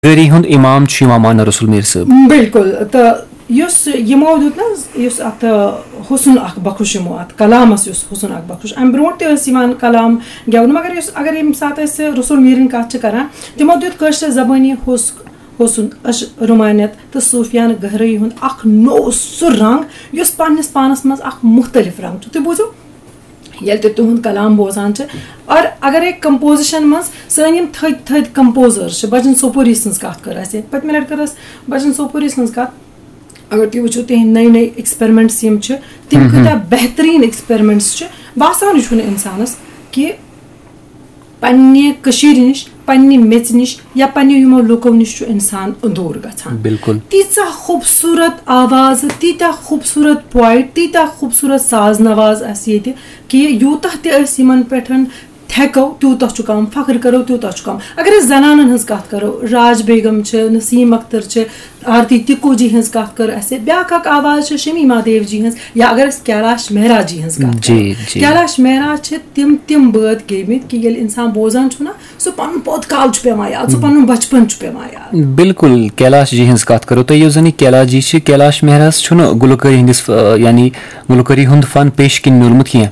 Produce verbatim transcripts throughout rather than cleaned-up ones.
گٲری ہُنٛد امام چھُ یِوان ماننہٕ رسول میر صٲب۔ بِلکُل۔ تہٕ یُس یِمو دیُت نہ حظ، یُس اَتھ حُسُن اَکھ بخُش، یِمو اَتھ کلامَس یُس حُسُن اَکھ بخُش، اَمہِ برونٛٹھ تہِ ٲسۍ یِوان کلام گٮ۪ونہٕ، مگر یُس، اگر ییٚمہِ ساتہٕ أسۍ رسول میٖرٕنۍ کَتھ چھِ کَران، تِمو دیُت کٲشرِ زبٲنی حُس حُسُن، اَش رومانیت تہٕ صوٗفیانہٕ گہرٲیی ہُنٛد اَکھ نوٚو سُہ رنٛگ، یُس پنٛنِس پانَس منٛز اَکھ مُختٔلِف رنٛگ چھُ۔ تُہۍ بوٗزِو، ییٚلہِ تہِ تُہُنٛد کلام بوزان چھِ، اور اگر أکۍ کمپوزیشن منٛز سٲنۍ یِم تھٔدۍ تھٔدۍ کمپوزر چھِ، بجن سوپوری سٕنٛز کتھ کٔر اَسہِ، پٔتمہِ لٹہِ کٔر اَسہِ بجن سوپوری سٕنٛز کتھ۔ اگر تُہۍ وٕچھِو، تِہنٛدۍ نٔے نٔے ایکسپیرمنٹس یِم چھِ، تِم کۭتیٛاہ بہتریٖن ایکسپیرمنٹس چھِ۔ باسانٕے چھُنہٕ انسانس کہِ پننہِ کٔشیٖرِ نِش، پننہِ میٚژِ نِش یا پننہِ یِمو لُکو نِش چھُ انسان دوٗر گژھان۔ بِلکُل۔ تیٖژاہ خوٗبصوٗرت آواز، تیٖتیٛاہ خوٗبصوٗرت پویٹ، تیٖتیٛاہ خوٗبصوٗرت ساز نواز اَسہِ ییٚتہِ کہِ یوٗتاہ تہِ أسۍ یِمن پٮ۪ٹھ تھٮ۪کو، تیوٗتاہ چھُ کَم، فخر کَرو، تیوٗتاہ چھُ کَم۔ اگر أسۍ زنانن ہٕنٛز کَتھ کَرو، راج بیگم چھِ، نسیٖم اختر چھِ، آرتی تِکو جی ہٕنٛز کَتھ کٔر اَسہِ، بیٛاکھ اَکھ آواز چھِ شمیٖما دیو جی ہٕنٛز، یا اگر أسۍ کیلاش مہراج جی ہٕنٛز کَتھ کَرو، جی، جی۔ کیلاش مہراج چھِ تِم تِم بٲتھ گیٚمٕتۍ کہِ ییٚلہِ اِنسان بوزان چھُ نہ، سُہ پَنُن پوت کال چھُ پٮ۪وان یاد، سُہ پَنُن بَچپَن چھُ پٮ۪وان یاد۔ بِلکُل، کیلاش جی ہٕنٛز کَتھ کَرو تۄہہِ، یُس زَن یہِ کیلاش جی چھِ، کیلاش مہراج چھُنہٕ گُلوکٲری ہٕنٛدِس، آ، یعنی گُلوکٲری ہُنٛد فن پیش کِنۍ میوٗلمُت کینٛہہ،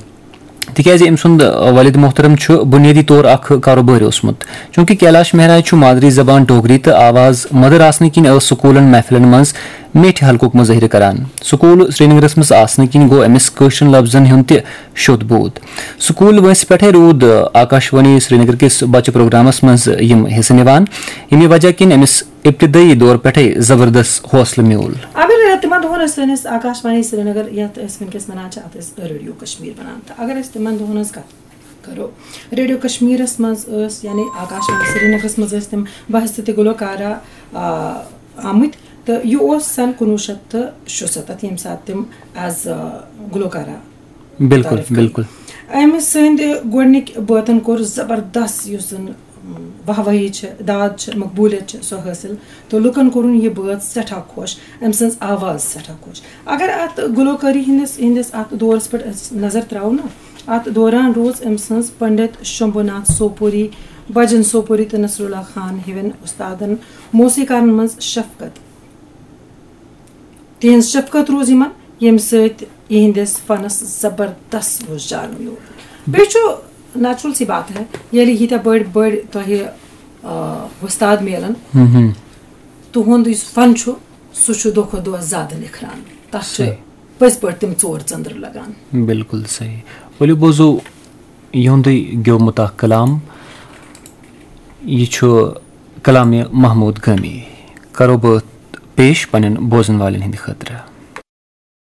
تِکیازِ أمۍ سُنٛد والد محترم چھُ بُنیٲدی طور اکھ کاروبٲرۍ اوسمُت۔ چوٗنٛکہِ کیلاش مہراج چھُ مادری زبان ڈوگری تہٕ آواز مٔدٕر آسنہٕ کِنۍ ٲس سکوٗلن محفلن منٛز میٹھِ حلقُک مظٲہرٕ کران۔ سکوٗل سرینگرس منٛز آسنہٕ کِنۍ گوٚو أمِس کٲشرٮ۪ن لفظن ہُنٛد تہِ شوٚد بود۔ سکوٗل وٲنٛسہِ پٮ۪ٹھے روٗد آکاشوانی سرینگر کِس بچہٕ پروگرامس منٛز یِم حصہٕ نِوان، ییٚمہِ وجہ کِنۍ أمِس ابتدٲیی دور پٮ۪ٹھے زبردست حوصلہٕ میوٗل۔ اگر تِمن دۄہن ٲسۍ سٲنِس آکاشوانی سرینگر، یتھ أسۍ وٕنکیٚس ونان چھِ، اتھ ٲسۍ ریڈیو کشمیر ونان، تہٕ اگر أسۍ تِمن دۄہن ہٕنٛز کتھ کرو، ریڈیو کشمیرس منٛز ٲسۍ، یعنی آکاشوانی سرینگرس منٛز ٲسۍ تِم بحث تہٕ گلوکارہ، آ، آمٕتۍ، تہٕ یہِ اوس سن کُنوُہ شیٚتھ تہٕ شُستتھ، ییٚمہِ ساتہٕ تِم ایز گلوکارہ بِلکُل، تعارُف کٔرۍ۔ بِلکُل۔ أمۍ سٕنٛدِ گۄڈٕنِکۍ بٲتن کوٚر زبردست، یُس زن واہ وٲہی چھِ، داد چھِ، مقبولیت چھِ، سۄ حٲصِل، تہٕ لُکن کوٚرُن یہِ بٲتھ سٮ۪ٹھاہ خۄش، أمۍ سٕنٛز آواز سٮ۪ٹھاہ خۄش۔ اگر اتھ گلوکٲری ہٕنٛدِس، ہٕنٛدِس اتھ دورس پٮ۪ٹھ أسۍ نظر تراوو نا، اتھ دوران روٗز أمۍ سٕنٛز پنڈت شمبھو ناتھ سوپوری، بجن سوپوری تہٕ نصر اللہ خان ہِوٮ۪ن استادن موسیقارن منٛز شفقت۔ تِہنٛز شفقت روٗز یِمن، ییٚمہِ سۭتۍ یِہنٛدِس فنس زبردست رُجحان میوٗل۔ بیٚیہِ چھُ نیچرل سی بات ہے، ییٚلہِ ییٖتیٛاہ بٔڑۍ بٔڑۍ تۄہہِ، آ، وۄستاد میلن، ہم، ہم۔ تُہُنٛد یُس فن چھُ، سُہ چھُ دۄہ کھۄتہٕ دۄہ زیادٕ نِکھران۔ تتھ چھُ صحیح۔ پٔزۍ پٲٹھۍ تِم ژور ژٔنٛدٕر لگان۔ بِلکُل صحیح۔ ؤلِو بوزو یِہُنٛدُے گیومُت اکھ کلام۔ یہِ چھُ کلامِ محمود گٲمی۔ کرو بہٕ پیش پننٮ۪ن بوزن والٮ۪ن ہٕنٛدِ خٲطرٕ۔